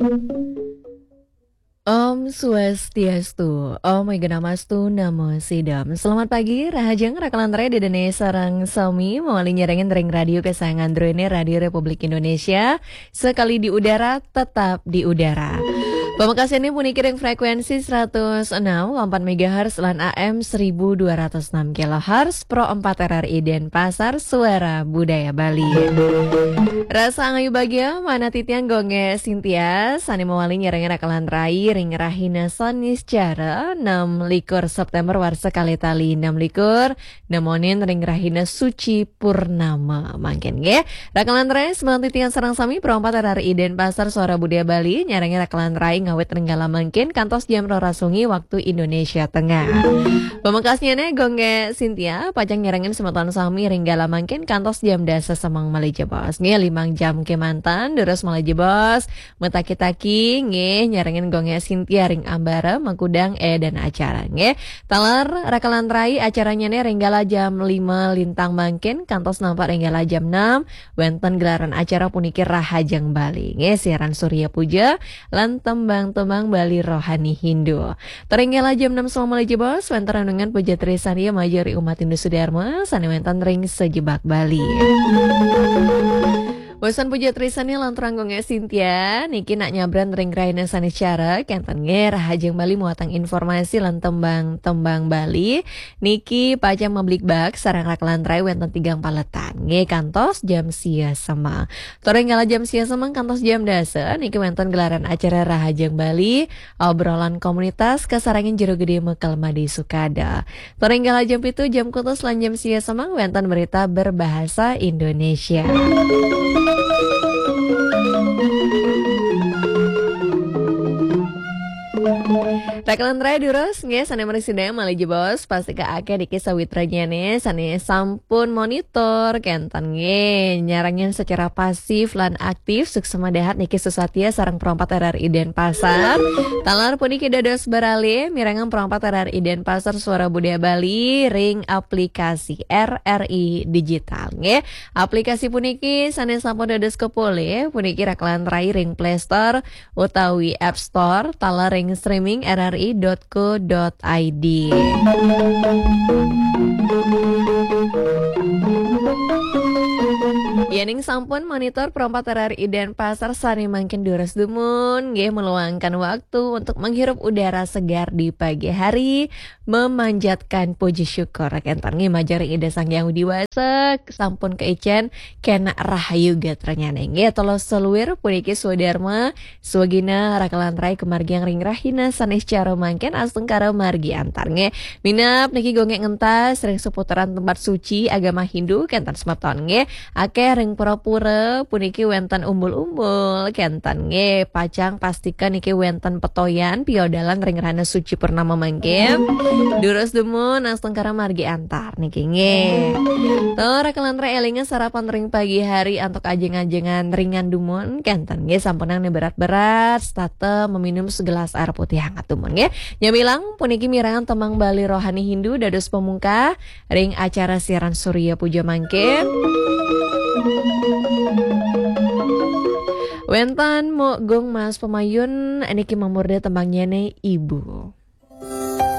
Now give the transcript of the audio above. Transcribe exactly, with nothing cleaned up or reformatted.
Om Swastiastu, Om Eganamastu Namo Sidam. Selamat pagi, rahajeng rakalan rai Ida dané sareng sami, mawali nyarengin ring radio kesayangan druéné, Radio Republik Indonesia, sekali di udara, tetap di udara. Pamekasnyané puniki ring frekuensi seratus enam koma empat megahertz lan A M seribu dua ratus enam kilohertz, Pro empat R R I Denpasar, Suara Budaya Bali. Rasa angayu bagia, manah titiang Gung Gé Sintia, sané mawali nyarengin rakalan rai ring rahina Saniscara, enam likur September warsa kalih tali enam likur, nemonin ring rahina suci purnama. Mangkin nggih, rakalan rai, semanten titiang sareng sami, Pro empat R R I Denpasar, Suara Budaya Bali, nyarengin rakalan rai ngawit ring kala mangkin kantos jam roras wengi waktu Indonesia Tengah. Pamekasnyané Gung Gé Sintia, pacang nyarengin semeton sami ring kala mangkin kantos jam dasa semeng malih jebos. Nggih, limang jam kémanten, durus malih jebos. Mataki-taki, nggih, nyarengin Gung Gé Sintia ring ambara makudang édan acara, nggih. Taler rakalan rai, acaranyané ring kala jam lima lintang mangkin, kantos nampek ring kala jam enam, wénten gelaran acara puniki Rahajeng Bali, nggih, siaran Surya Puja, lan tembang-tembang Bali rohani Hindu. Ring kala jam enam semeng malih jebos, wénten renungan puja trisandya majeng ring umat Hindu Sudarma, sané wénten ring sajebag Bali. Wusan puja trisandya lanturang Gung Gé Sintia, niki nak nyabran ring rahina Saniscara, kénten nggih, Rahajeng Bali muatang informasi lan tembang-tembang Bali, niki pacang mabligbagan sareng rakalan rai wénten tigang paletan, nggih, kantos jam sia semeng. Ring kala jam sia semeng kantos jam dasa, niki wénten gelaran acara Rahajeng Bali, obrolan komunitas kasarengin Jero Gedé Mekel Madé Sukada. Ring kala jam pitu, jam kutus lan jam sia semeng wénten berita berbahasa Indonesia. Rakalan rai, durus nggih, sané mriki sedeng malih jebos, pastika akéh niki sawitranyané sané sampun monitor, kénten nggih, nyarengin secara pasif lan aktif, suksma dahat niki susatia sareng Pro empat R R I Denpasar. Taler puniki dados beralih, mirengang Pro empat R R I Denpasar, Suara Budaya Bali ring aplikasi R R I Digital, nggih. Aplikasi puniki sané sampun dados kapolih, puniki rakalan rai ring Play Store utawi App Store, taler ring streaming R R I dot co dot I D. Yéning sampun monitor Pro empat R R I Denpasar, sané mangkin durus dumun, nggih, meluangkan waktu untuk menghirup udara segar di pagi hari, memanjatkan puji syukur. Kénten nggih majeng ring Ida Sang Hyang Widhi Wasa, sampun kaicén kénak rahayu gatranyané. Nggih, taler saluir puniki swadarma, swagina rakalan rai kamargiang ring rahina Saniscara mangkin, astungkara margi antar, nggih. Minab niki Gung Gé ngentas ring seputaran tempat suci agama Hindu, kénten semeton, nggih. Akéh ring pura-pura puniki wénten umbul-umbul, kénten nggih, pacang pastika niki wénten petoyan piodalan ring rahina suci purnama mangkin. Durus dumun, astungkara margi antar niki nggih. Tur rakalan rai, élinga sarapan ring pagi hari antuk ajeng-ajengan ringan dumun, kénten nggih, sampunang né berat-berat, setata meminum segelas air putih hangat dumun nggih. Nyamilang puniki mirengang tembang Bali rohani Hindu dados pamungkah ring acara siaran Surya Puja mangkin. Wénten Muk Gung Mas Pamayun, niki mamurda tembangnyané Ibu.